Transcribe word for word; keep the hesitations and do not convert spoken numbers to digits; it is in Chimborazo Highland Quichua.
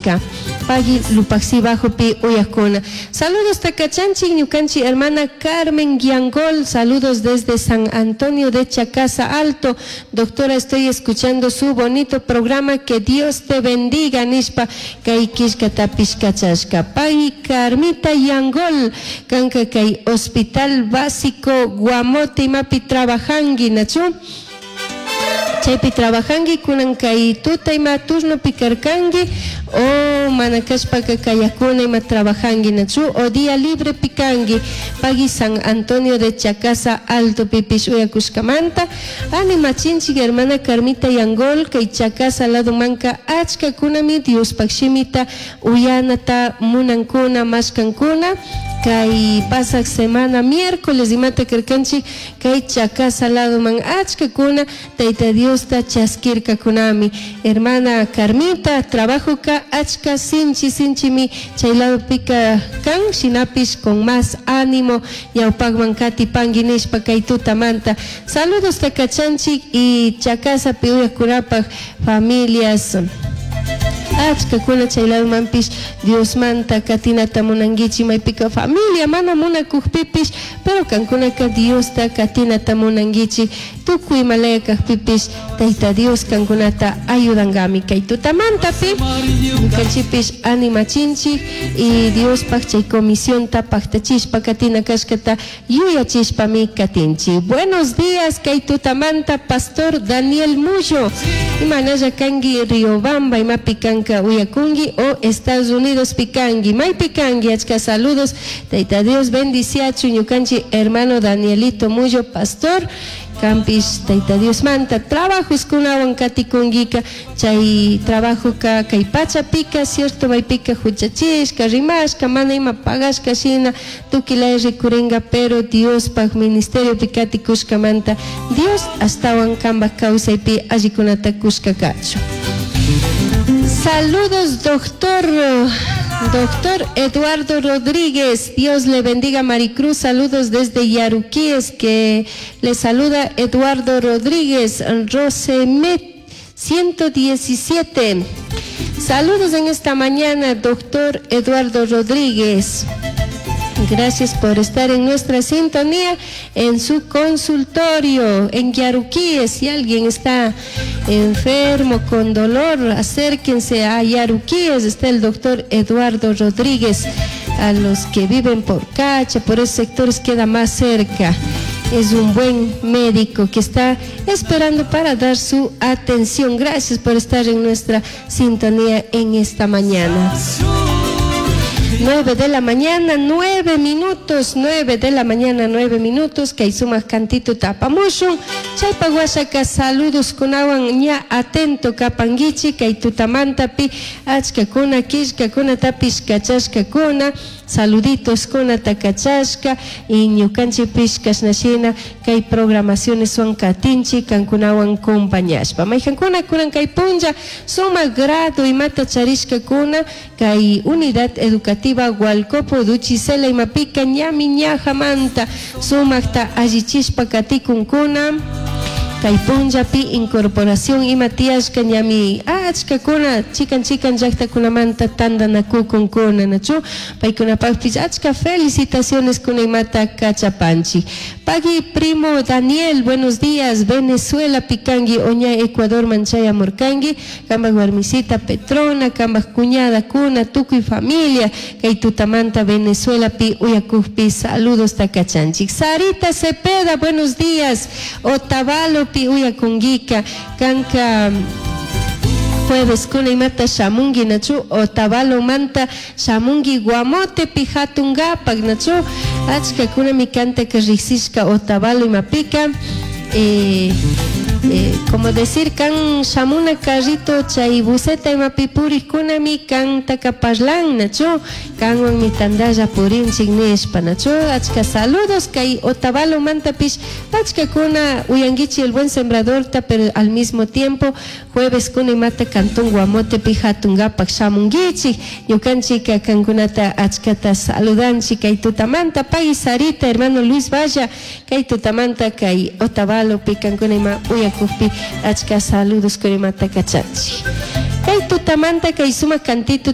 Uyakungika. Pagui Lupaxi Bajopi uyakuna. Saludos takachanchik ñukanchik hermana Carmen Guiangol, saludos desde San Antonio de Chacasa Alto. Doctora, estoy escuchando su bonito programa, que Dios te bendiga, nishpa kay killkatapish kachashka. Pagui Carmita Yangol, kanka kay Hospital Básico Guamote imapi trabajangi, nachu? Chaypi trabajangi kunan kay tuta ima turnopi karkangi o mana kashpaka kayakuna ima trabajangi nachu o día libre pikangi pagui San Antonio de Chacasa Alto pipish uyakushkamanta animachinchik hermana Carmita Yangol kay Chacasa lado manka achka kunami Diospaj shimita uyanata munankuna mashkankuna kay pasaq semana miércoles imata karkanchik kay Chacasa lado man achka kuna Tayta Diosta chaskirkakunami. Hermana Carmita trabajoka achka sinchi sinchimi chay ladopika kan shinapish con más ánimo ñawpakman katipanki nishpa kay tutamanta. Saludos takachanchik y Chacasapi uyakunapaj familias achkakuna chay ladomanpish Diosmanta katinata munankichik maypika familia mana munakukpipish, pero kankunaka Diosta katinata munankichik tukuy imalaya kakpipish Tayta Dios kankunata ayudankami kay tutamantapi ñukanchikpish animachinchik y Diospaj chay comisionta paktachishpa katina kashkata yuyachishpami katinchik. Buenos días kay tutamanta, Pastor Daniel Mullo, imanalla kanki Riobamba imapi kanka uyakunki o Estados Unidos pikanki maypi kanki. Achka saludos, Tayta Dios bendiciachu ñukanchik hermano Danielito Mullo, pastor. Kampish Tayta Diosmanta trabajos kunawan katikunkika chay trabajoka kay pachapika cierto maypika huchachishka rimashka mana ima pagashka shina tukilaya rikurinka, pero Diospaj ministeriopi katikushkamanta Dios ashtawan kanpak kawsaypi allikunata kushka kachun. Saludos, doctor Doctor Eduardo Rodríguez, Dios le bendiga, Maricruz, saludos desde Yaruquíes, que le saluda Eduardo Rodríguez, Rosemet ciento diecisiete. Saludos en esta mañana, doctor Eduardo Rodríguez. Gracias por estar en nuestra sintonía en su consultorio en Yaruquíes. Si alguien está enfermo con dolor, acérquense a Yaruquíes. Está el doctor Eduardo Rodríguez. A los que viven por Cacha, por esos sectores queda más cerca. Es un buen médico que está esperando para dar su atención. Gracias por estar en nuestra sintonía en esta mañana. Nueve de la mañana, nueve minutos, nueve de la mañana, nueve minutos, kay sumak cantito apamushun, chaypa washaka saludos kunawan ña atento kapanguichi, kay tutamantapi, achkakuna, killkakunatapish kachashkakuna, saluditos kunata kachashka, y ñukanchikpish kashnashina kay programaciones son katinchi, kankunawan compañashpa. Mayjankuna kunan kay punlla, sumak grado imata charishkakuna, kay unidad educativa Hualcopo Duchisela imapika ñami ñajamanta sumakta allichishpa katikunkuna kay punllapi incorporación ima tiyashka ñami achkakuna chikan chikan llaktakunamanta tantanakukunkuna nachu paykunapakpish achka felicitaciones kuna imata kachapanchik. Pagui primo Daniel, buenos días, Venezuela pikanki o ña Ecuador chayamurkanki, kambak warmisita Petrona, kambak cuñada kuna, tukuy familia kay tutamanta Venezuela pi uyakukpi saludos takachanchik. Sarita Cepeda, buenos días, Otavalo pi uyakunkika, kanka jueves kuna imata shamungi nachu Otavalo manta shamungi Guamote pi hatungapak nachu. Achka kunami kantaka riksishka Otavalo imapika eh, eh, como decir kan shamuna carrito chay buseta imapi purikkunami kantaka parlan nachu kanwanmi tandalla purinchik nishpa nachu. Achka saludos kay Otavalo mantapish achka kuna uyanguichi El Buen Sembradorta, pero al mismo tiempo jueves kuna imata cantón Guamotepi hatungapak shamunguichik ñukanchika kankunata achkata saludanchik kay tutamanta. Pagui Sarita, hermano Luis Valla, kay tutamanta kay Otavalo pi kankuna ima uyakukpi achka saludos kuna imata kachanchik kay tutamanta kay sumak cantito.